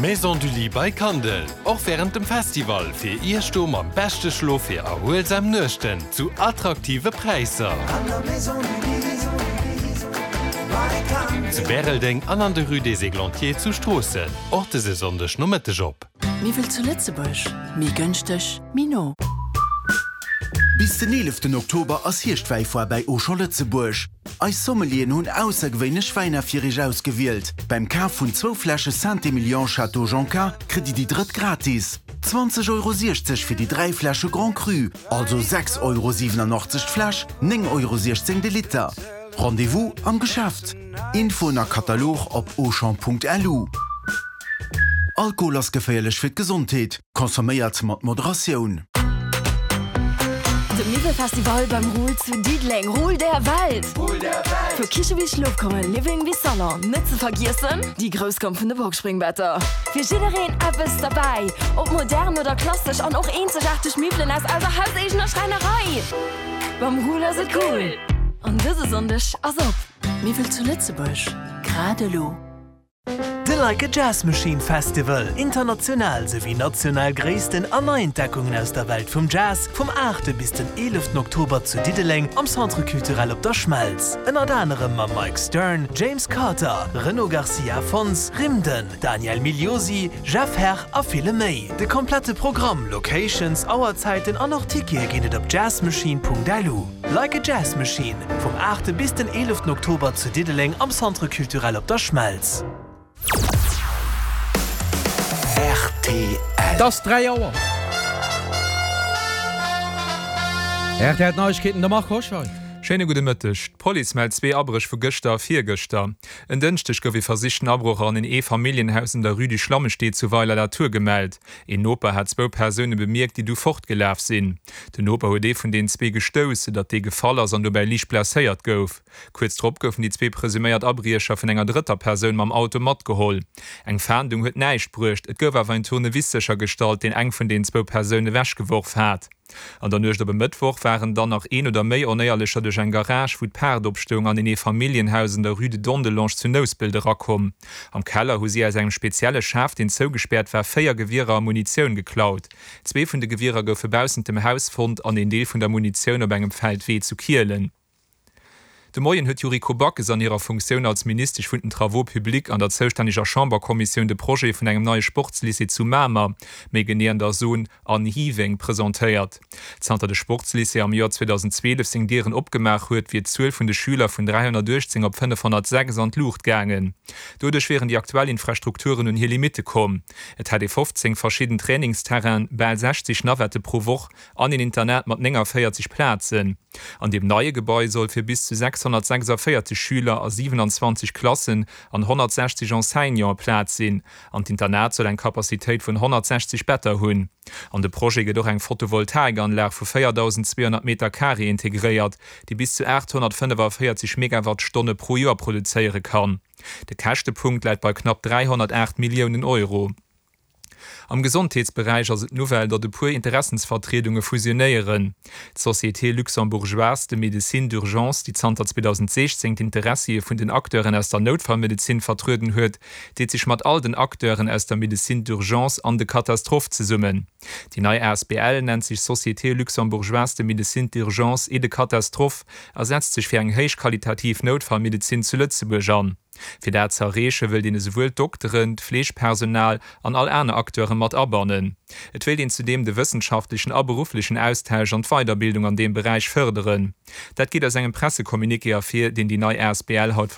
D'Maison du Lit by Kandel, och wärend dem Festival fir Iech do mam beschte Schlof fir erhuelsam Nuechten zu attraktive Präisser. Zu Bäreldeng an an der Rue des Églantiers zu Stroossen, och dëse Sonndeg Nomëtteg op. Miwwel zu Lëtzebuerg, méi gënschteg, méi no. Bis den 11 Oktober ass Hierschtwäifoire bäi Auchan Lëtzebuerg. Eis Sommelieren hunn aussergewéinlech Wäiner fir iech ausgewielt. Beim Kaf vun zwou Fläsche Saint-Emilion Château Jonca kritt dir déi drëtt gratis. 20,60 Euro fir déi 3 Fläsche Grand Cru, also 6,87 Euro d'Fläsch, 9,16 Euro de Liter. Rendez-vous am Geschäft. Infoen a Katalog op auchan.lu. Alkohol ass geféierlech fir d'Gesondheet. Consomméiert mat Moderatioun. De Miwwelfestival beim Ruhl zu Diddeleng, Ruhl der Welt! Vu Kiche bis Schlofkummer, Living bis Salon, net ze vergiessen déi grouss Gamm vun de Boxspringbetter. Fir jiddereen eppes derbäi, ob modern oder klassesch an och eenzegaarteg Miwwelen aus eiser hauseegener Schräinerei. Beim Ruhl ass et cool an dëse Sonndeg ass op. Miwwel zu Lëtzebuerg, grad elo. De Like a Jazz Machine Festival, international souwéi national Gréissten an Neientdeckungen aus der Welt vum Jazz, vum 8 bis den 11 Oktober zu Diddeleng am Centre Culturel Op der Schmelz. Ënnert anerem mam Mike Stern, James Carter, Renaud Garcia Fons, Rimden, Daniel Migliosi, Jeff Herr a ville méi. De komplette Programm, Locations, Auerzäiten an och Tickete ginn et op jazzmachine.lu. Like a Jazz Machine, vum 8 bis den 11 Oktober zu Diddeleng am Centre Culturel Op der Schmelz. Rtl. Et ass 3 Auer. Rtl Neiegkeeten, de Marc Hoscheid. Schéine gudde Mëtteg. D'Police mellt zwee Abréch vu gëschter a virgëschter. En Dënschdeg gouf ee versichten Abroch an en Eefamilljenhaus un der Rue du Schlammestee zu Weiler-la-Tour gemellt. Een Noper hat zwou Persoune bemierkt, déi du fortgelaf sinn. Den Noper huet ee vun den zwee gestouss, soudatt dee gefall ass an dobäi liicht blesséiert gouf. Kuerz drop goufen déi zwee presuméiert Abriecher vun enger drëtter Persoun mam Auto matgeholl. Eng Fahndung huet näischt bruecht, et gouf awer en Tournevis séchergestallt, deen eng vun den zwou Persoune ewechgeworf hat. An der Nuecht op e Mëttwoch waren dann nach een oder méi Onéierlecher duerch eng Garage, wou d'Paart opstoung, an een Eefamilljenhaus an der Rue de Dondelange zu Nouspelt erakomm. Am Keller hu si aus engem spezielle Schaf, deen zougespäert war, 4 Gewierer a Munitioun geklaut. Zwee vun de Gewierer goufe baussent dem Haus fonnt an een Deel vun der Munitioun op engem Feldwee zu Kielen. De Moien huet d'Yuriko Backes an hirer Funktioun als Ministesch vun den Travaux publics an der zoustänneger Chamberkommissioun de Projet vun engem neie Sportslycée zu Mamer, méi genee an der Zone An Hiweng, presentéiert. Zanter de Sportslycée am Joer 2012 seng Dieren opgemaach huet, wier d'Zuel vun de Schüler vun 318 op 506 an d'Luucht gaangen. Doduerch wieren déi aktuell Infrastrukturen un hir Limitte komm. Et hätt ee 15 verschidden Trainingsterrainen, bal 60 Navette pro Woch an een Internat mat 49 Plazen. An deem neie Gebai soll fir bis zu 646 Schüler a 27 Klassen an 160 Enseignante Plaz sinn an d'Internat soll eng Capacitéit vun 160 Better hunn. An de Projet gëtt och eng Photovoltaikanlag vu 4.200 Meter Carré integréiert, déi bis zu 845 Megawattstonne pro Joer produzéiere kann. De Käschtepunkt läit bei knapp 308 Milliounen Euro. Am Gesondheetsberäich ass et d'Nouvelle, datt e puer Interessensvertriedunge fusionéieren. D'Société luxembourgeoise de médecine d'urgence, déi zanter 2016 d'Interessie vun den Acteuren aus der Noutfallmedezin vertrueden huet, deet sech mat all den Acteuren aus der Médecine d'urgence an de catastrophes zesummen. Déi nei asbl nennt sech Société luxembourgeoise de médecine d'urgence et de catastrophes a setzt sech fir eng héichqualitativ Noutfallmedezin zu Lëtzebuerg an. Fir dat ze erreeche wëllt een esouwuel d'Dokteren, d'Fleegpersonal an all aner Acteure mat abannen. Et wéilt een zudeem de wëssenschaftlechen a berufflechen Austausch an d'Weiderbildung an deem Beräich fërderen. Dat geet aus engem Pressecommuniqué ervir, deen déi nei asbl haut.